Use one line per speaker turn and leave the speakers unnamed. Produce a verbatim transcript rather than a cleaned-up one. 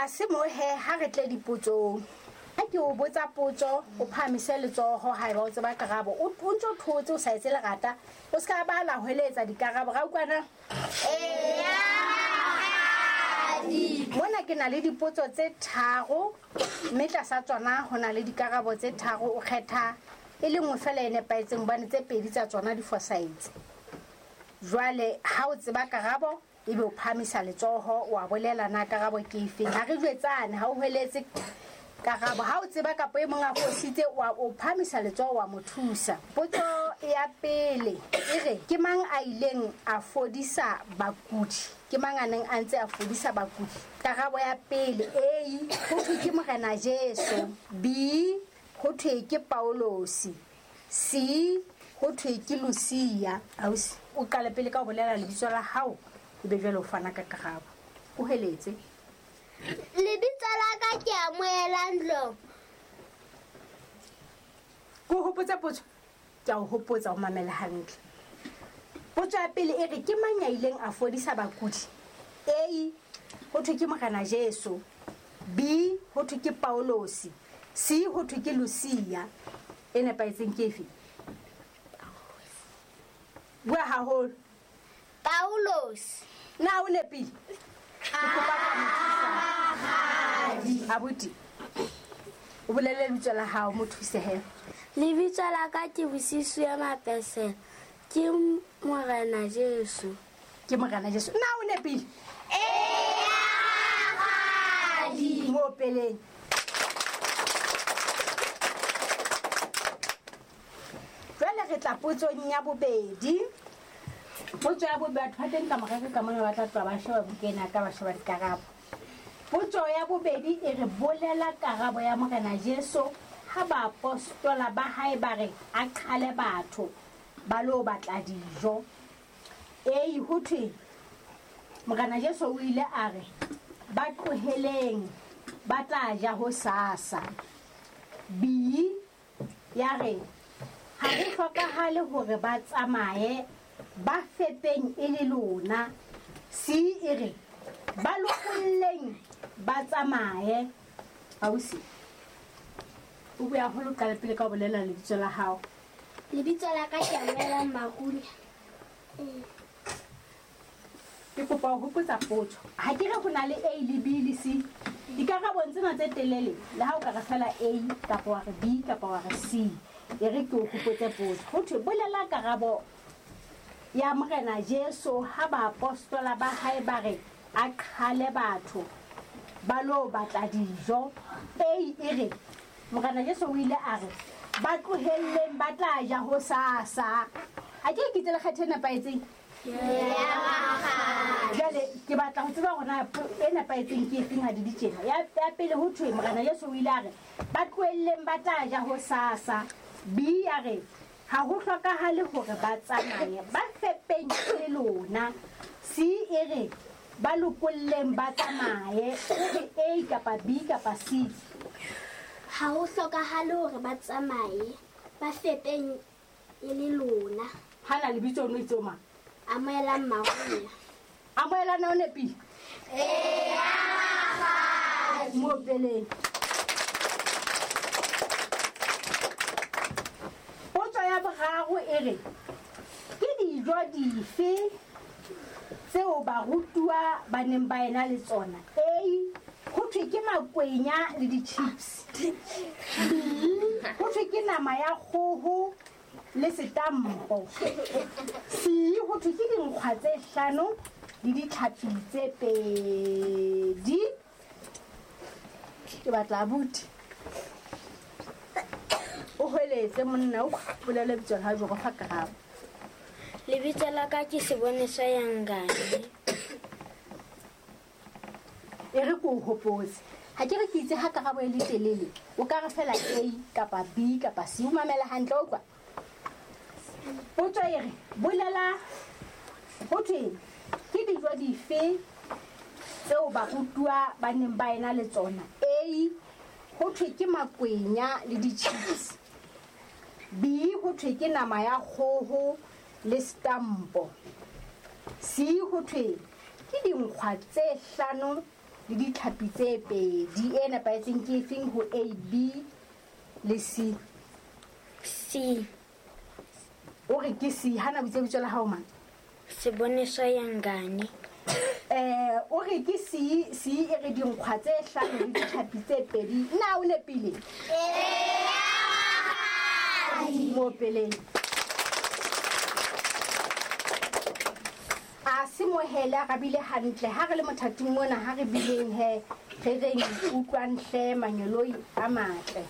Tlase mo he ha re tle dipotsong. Ha ke o botsa potso, o phahamise letsoho haeba o tseba karabo. O o ntso thotse o sa etse lerata, o ska ba la hweletsa dikarabo. Ra utlwana? Mona ke na le dipotso tse tharo, mme tlasa tsona ho na le dikarabo tse tharo. O kgetha e le nngwe fela e nepahetseng hobane tse pedi tsa tsona di fosahetse. Jwale ha o tseba karabo, ebe o phahamisa letsoho, wa bolela na karabo ke efe. Ha re jwetsane, ha o hweletse karabo. Ha o tseba kapa e mong a fositse, wa o phahamisa letsoho wa mo thusa. Potso ya pele e re, ke mang a ileng a fodisa bakudi? Ke mang a neng a ntse a fodisa bakudi? Karabo ya pele, A, ho thwe ke Morena Jesu. B, ho thwe ke Paulosi. C, ho thwe ke Lucia. Ausi, o qale pele ka ho bolela lebitso la hao, ebe jwale o fana ka karabo. O heletse.
Lebitso la ka ke Amoelang Dlomo.
Ke o hopotsa potso? Ke a o hopotsa, o mamele hantle. Potso ya pele e re, ke mang ya ileng a fodisa bakudi? A, ho thwe ke Morena Jesu. B, ho thwe ke Paulosi. C, ho thwe ke Lucia. E nepahetseng ke efe? Bua haholo.
Paulosi.
Na o nepile? Ke kopa ka mo thusa. Abuti, o bolele lebitso la hao, mo thuse he.
Lebitso la ka ke Bosiso ya Mapesela. Ke Morena Jesu.
Ke Morena Jesu. Na o nepile?
Ee,
Mo opeleng. Jwale re tla potsong ya bobedi. Potso ya bobedi, batho ba teng ka morero ka mona ba tla tloha ba sheba buka ena ka ba sheba dikarabo. Potso ya bobedi e re, bolela karabo ya Morena Jesu ha baapostola ba hae ba re a qhale batho ba lo batla dijo. A, ho thwe Morena Jesu o ile a re ba tloheleng ba tla ja hosasa. B, ya re ha ho hlokahale hore ba tsamaye, ba fepeng e le lona. C, e re ba lokolleng ba tsamaye. Ausi, o bua haholo, qala pele ka ho bolela lebitso la hao.
Lebitso la ka ke Amoelang Marunya.
Ke kopa ho hopotsa potso. Ha ke re ho na le A le B le C. Dikarabong tsena tse telele, le ha o ka re fela A kapa wa re B kapa wa re C, e re ke o hopotse potso. Ho thwe bolela karabo ya Morena Jesu ha baapostola ba hae ba re a qhale batho ba lo batla dijo. A e re Morena Jesu o ile a re ba tlohelleng ba tla ja hosasa. Ha ke ke itse le kgetho e nepahetseng? Jwale ke batla ho tseba hore na e nepahetseng ke efeng ha di di tjena. Ya, ya pele ho thwe Morena Jesu o ile a re ba tlohelleng ba tla ja hosasa. B ya re ha ho hlokahale hore ba tsamaye, ba fepeng le lona. C e re ba lokolleng ba tsamaye. O re A kapa B kapa C.
Ha ho hlokahale hore ba tsamaye, ba fepeng e le lona.
Ha na lebitso o no itse o mang?
Amoelang Marunya.
Amoelang o nepile?
Ee,
Mo opeleng. Potso ya boraro e re, ke dijo dife tseo barutuwa ba neng ba ena le tsona? A, ho thwe ke makwenya le di-chips. B, ho thwe ke nama ya kgoho le setampo. C, ho thwe ke dinkgwa tse hlano le ditlhapi tse pedi. Ke batla abuti. O hweletse monna, o bolele lebitso la hao jwalo fa karabo.
Lebitso la ka ke Seboneswa Yangane.
E re ke o hopotse. Ha ke re ke itse ha karabo e le telele, o ka re fela A kapa B kapa C. O mamele hantle, o utlwa? Potso e re, bolela ho thwe ke dijo dife tseo barutuwa ba neng ba ena le tsona? A, ho thwe ke makwenya le di-chips. B, ho thwe ke nama ya kgoho le stampo. C, ho thwe ke dinkgwa tse hlano le ditlhapi tse pedi. E nepahetseng ke efeng ho A, B le C?
C.
O re ke C. Hana bitse bitso la hao mang?
Seboneso Yangane.
Eh, o re ke C, C e re dinkgwa tse hlano le ditlhapi tse pedi. Na o nepile? Ee. Mo peleng. A se mohele a rabile hantle. Ha re le mothating mona, ha re bileng he, re reng utlwang hle manyoloi a matle.